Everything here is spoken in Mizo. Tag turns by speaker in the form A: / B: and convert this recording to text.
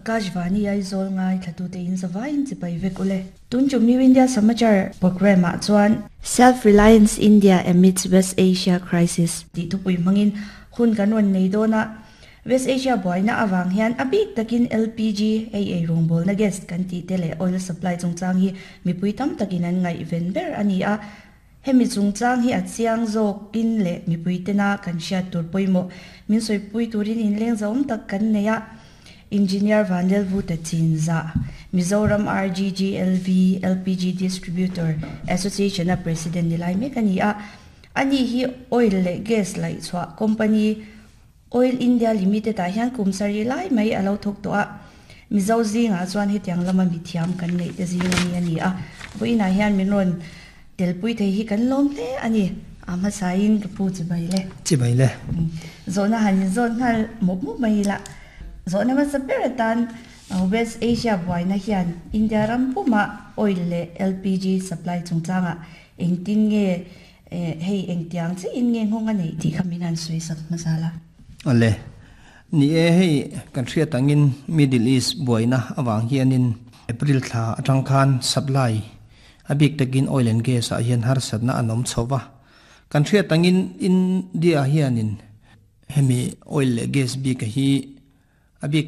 A: Akashvani Aizawl ngaithlatute in zavaiin chipai vek ule. Tun tum New India Samachar programme ah chuan Self Reliance India Amidst West Asia Crisis tih thupui hmangin hun kan rawn nei dawn a. West Asia buaina avang hian a bik takin LPG, hei ei rawngbawlna gas kan tih te leh oil supply chungchang hi mipui tam takin an ngaihven ber a ni a. Hemi chungchang hi a chiang zawkin leh mipui tena kan hriat tur pawimawh min sawipui turin inleng zauhawm tak kan nei a. Engineer Vanlelvuta Chinzah, Mizoram RGGLV LPG Distributor Association-a President ni lai mek a ni a. Ani hi oil leh gas laihchhuah company Oil India Limited ah hian kum sarih lai mai a lo thawk tawh a, Mizo zingah chuan hetiang lama mithiam kan neih te zing a ni a ni a, vawiinah hian min rawn telpui thei hi kan lawm hle a ni. A hmasain ka pu chibai le.
B: Chibai le.
A: Zawhna han inzawt nghal mawp mawp mai ila, zawhna hmasa ber atan West Asia buaina hian India ram pumah oil leh LPG supply chungchangah engtin nge Hei engtiang chiah in nge nghawng a neih tih kha min han sawi sak hmasa la.
B: Awle. Ni e, hei kan hriat angin Middle East buaina avang hianin April thla atang khan supply a bik takin oil and gas ah hian harsatna an awm chho va. Kan hriat angin India hianin hemi oil leh gas bik a hi a bik.